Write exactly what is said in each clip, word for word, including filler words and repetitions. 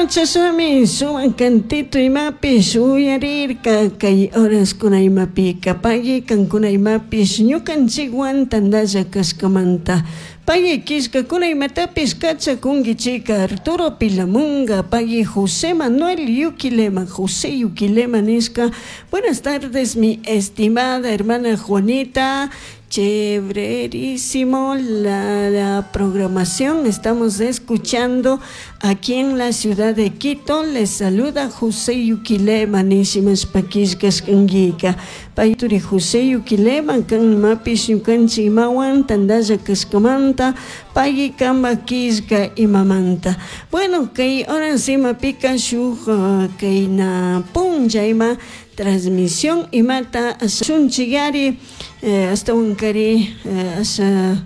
chashnami sumak cantito imapish uyarirka kay horaskuna imapika pagui kankuna imapish ñukanchikwan tantalla kashkamanta pagui killkakuna imatapish kachakunkichika Arturo Pilamunga pagui José Manuel Yuquilema José Yuquilema nishka buenas tardes mi estimada hermana Juanita chéverísimo la, la programación estamos escuchando aquí en la ciudad de Quito les saluda José Yuquilema nishimashpa killkashkankika payturi José Yuquilema kan imapish ñukanchik imawan tantalla kashkamanta pagui kanpak killka imamanta bueno kay horas imapika shuk uh, kayna punlla ima transmisión imata shunchikari eh, ashtawankari eh, asha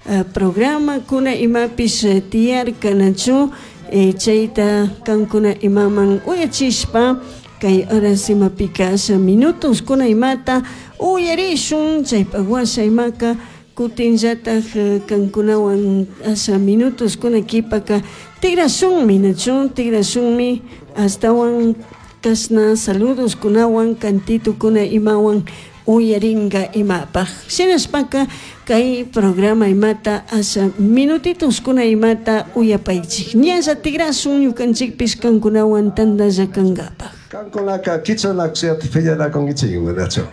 eh, programa kuna imapish eh, tiyarka nachu eh, chayta kankuna imaman uyachishpa kay horas imapika asha minutos kuna imata uyarishun chaypak washa imaka kutinllatak eh, kankunawan asha minutos kuna kipaka tigrashunmi nachu tigrashunmi ashtawan kashna saludos kunawan cantito kuna imawan uyaringa imapaj shinashpaka kay programa imata asha minutitos kuna imata uyapaychik ñalla tigrashun ñukanchikpish kankunawan tantalla kankapaj Kankunaka kichanakushata piñanakunkichik manachu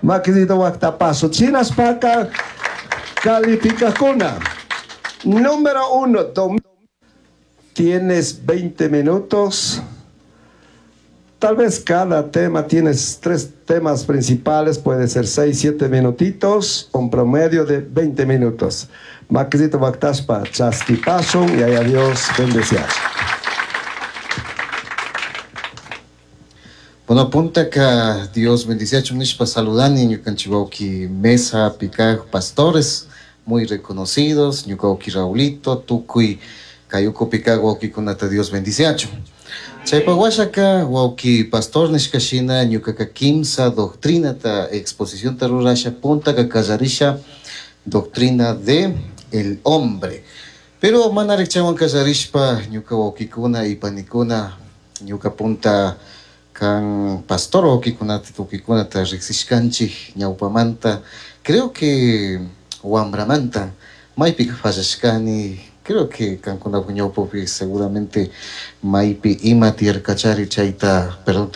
makisito waktapaso chinaspaka calificakuna número uno dom- tienes veinte minutos. Tal vez cada tema tienes tres temas principales, puede ser seis, siete minutitos, un promedio de veinte minutos. Makisito waktaspa chaskipasun y allá Dios bendecias. Bueno, puntaka Dios bendiciachu nishpa saludani ñukanchik wawki mesa pikaj pastores muy reconocidos, ñuka wawki Raulito, tukuy kay ukupi kak wawkikunata Dios bendiciachu. Chaypak washaka wawki pastor nishka shina ñukaka kimsa doctrinata exposicionta rurasha puntaka kallarisha doctrina de el hombre. Pero manarik chaywan kallarishpa ñuka wawkikuna y panikuna ñuka punta kan pastor wawkikunata tukikunata riksishkanchik ñawpamanta creo que wambramanta maypika fallashkani creo que kankunapak ñawpapi seguramente maypi ima tiyarkachari chayta perdonta